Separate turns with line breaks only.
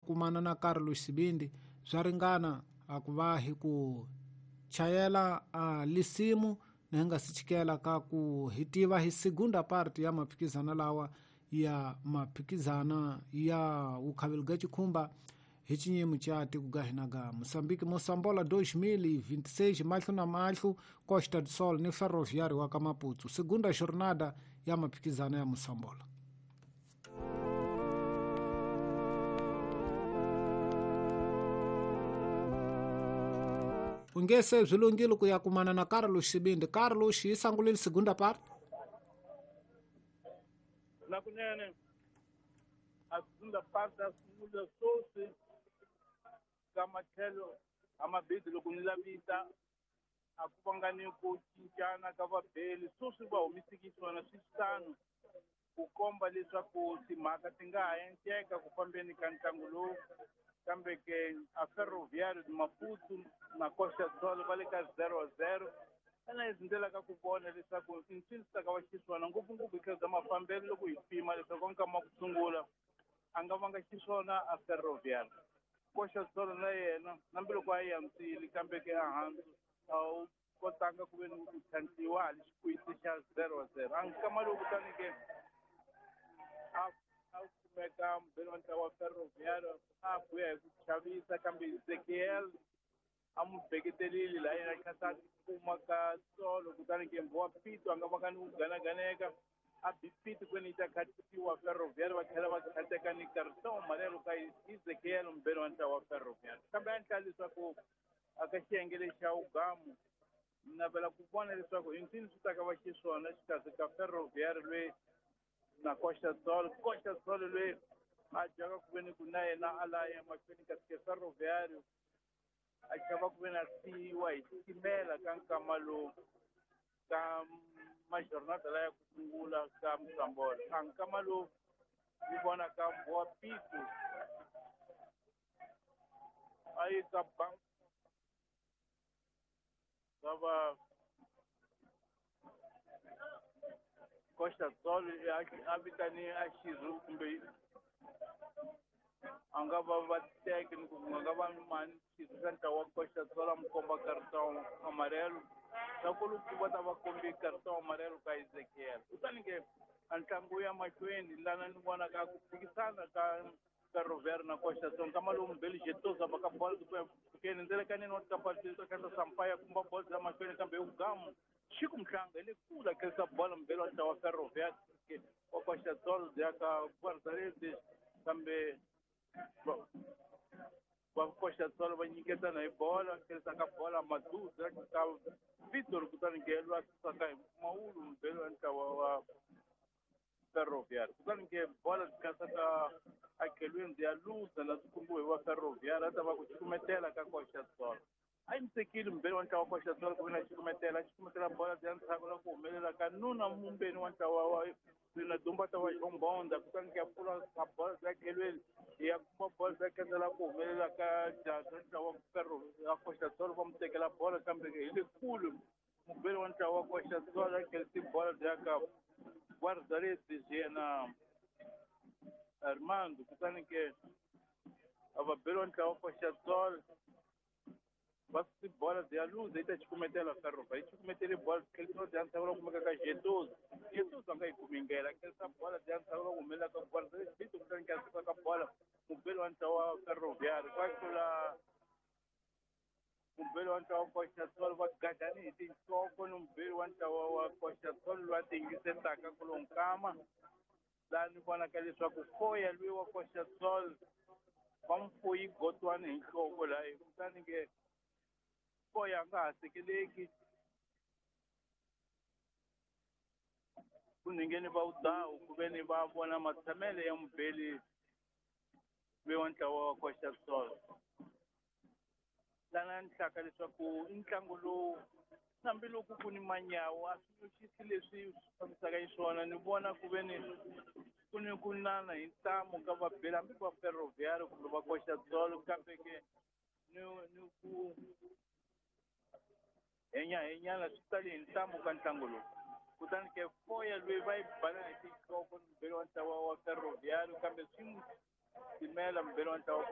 Kumana na Carlos Sibindi swa ringana a ku va hi ku chayela a lisimu na hi nga si chikela ka ku hi tiva hi segunda parte ya maphikizana lawa ya maphikizana ya wukhaveli ga chikhumba hi chinyimo cha tiko ga hina ga Moçambique Moçambola 2026 mahlo na mahlo Costa do Sol ni Ferroviário wa ka Maputo segunda jornada ya maphikizana ya Moçambola. Ungese byi lunghile ku ya kumana na Carlos Sibindi. Carlos yi sangulile segunda parte.
Na kunene a segunda parte a sungula swoswi ka matlhelo a mabidi loko ni lavita a ku vanga ni ku cincana ka vabeli swoswi va humisiki swona swi tano ku komba leswaku timhaka ti nga ha endleka ku fambeni ka ntlangu lowu kambe ke a Ferroviário de Maputo na Costa do Sol va le ka 0-0 xana hi ndlela ka ku vona leswaku i ncini swi ta ka va xiswona ngopfungopfu hi tlhelo bya mafambelo loko hi pima leswaku nkama wa ku sungula a nga vanga xiswona a Ferroviário Costa do Sol na yena hambiloko a yi antswile kambe ke ehansi a wu kotanga ku ve ni ku tlhantlhiwa hali xikwisi xa 0-0 a nkama lowu kutani ke a kumeka mubeli wa ntlawa wa Ferroviário a buya hi ku chavisa kambe Ezekiel a n'wi beketelile laha yena tlhasa kuma ka tsolo kutani ke wa Pito a nga vanga ni ku ganaganeka a bi Pito kwene yi ta khatiwa Ferroviário va tlhela va khateka ni carton amarelo ka Ezekiel mubeli wa ntlawa wa Ferroviário kambe a endla leswaku a ka xiyenge lexi xa ugamu ni navela ku vona leswaku hi ncini swi ta ka va xiswona xikarhi ka Ferroviário loyi na Costa do Sol. Costa do Sol loyi a dyaka ku ve ni ku na yena a la ya emahlweni kasi ke Ferroviário a chava ku ve na siyiwa hi xitimela ka nkama lowu ka majornada laya ku sungula ka Moçambola a nkama lowu ni vona ka Mbowa Pito a yi ka bank va va Costa do Sol a vitani a xirho kumbe a nga va va teke ni ku nga va mani xirho xa ntlawa wa Costa do Sol a mu komba carton amarelo swa ku loko va ta va kombi carton amarelo ka Ezekiel kutani ke a ntlangu ya mahlweni lana ni vona ka ku phikisana ka Ferroviário na Costa do Sol nkama lowu mubeli Jetosa va ka bola keni ndzelekaneni wa tikapati ta Sampaio kumba bola ya mahlweni kambe ugamu Chico Mhlanga hi le kule a kherisa bola mubeli wa ntlawa wa Ferroviário wa Costa do Sol ya ka Guarda-Redes kambe va Costa do Sol va nyiketana hi bola kherisa ka bola Maduza ka Vitor kutani ke lwa susaka hi mpfumawulo mubeli wa ntlawa wa Ferroviário kutani ke bola byi ka akhelweni ya luza na swi kumbiwe hi wa Ferroviário a ta va ku cukumetela ka Costa do Sol a yimisekile mubeli wa ntlawa wa Costa do Sol ku ve na cukumetela bola bya ndzhaku la ku humelela ka nuna mumbeni wa ntlawa wa na dumba ta wa Jombonda kutani ke ya pfula ka bola bya khelweni ya kuma bola bya kendela ku humelela ka jaha ntlawa wa Ferro ya Costa do Sol va mu tekela bola kambe hi le kule mubeli wa ntlawa wa Costa do Sol a kherisi bola bya ka Guarda-Redes yena Armando kutani ke a vabeli wa ntlawa wa Costa do Sol va si bola bya luza yi ta cukumetela Ferroviário yi cukumetele bola kherisa bya ndzhaku la kumeka ka Jetosa Jetosa a nga yi kumi ndlela kherisa bola bya ndzhaku la ku humelela ka Guarda-Redes kutani ke a suka ka bola mubeli wa ntlawa wa Ferroviário va tlula mubeli wa ntlawa wa Costa do Sol va gadani hi tinhloko ni mubeli wa ntlawa wa Costa do Sol loyi a tiyingisetaka ku lo nkama laha ni vonaka leswaku foya loyi wa Costa do Sol va mu foyi gotwani hi nhloko laha kutani ke foya a nga ha sekeleki ku ningeni va wudawu ku ve ni va vona matshamele ya mubeli loyi wa ntlawa wa Costa do Sol lana ni hlaka leswaku i ntlangu lowu hambiloko ku ni manyawu a swi nyuxisi leswi swi fambisaka xiswona ni vona ku ve ni ku ni ku nana hi ntamu ka vabeli hambi va Ferroviário kumbe va Costa do Sol kambe ke ni ku henyahenyana swi tali hi ntamu ka ntlangu lowu kutani ke foya loyi va yi bala hi tinhloko ni mubeli wa ntlawa wa Ferroviário kambe swi n'wi timela mubeli wa ntlawa wa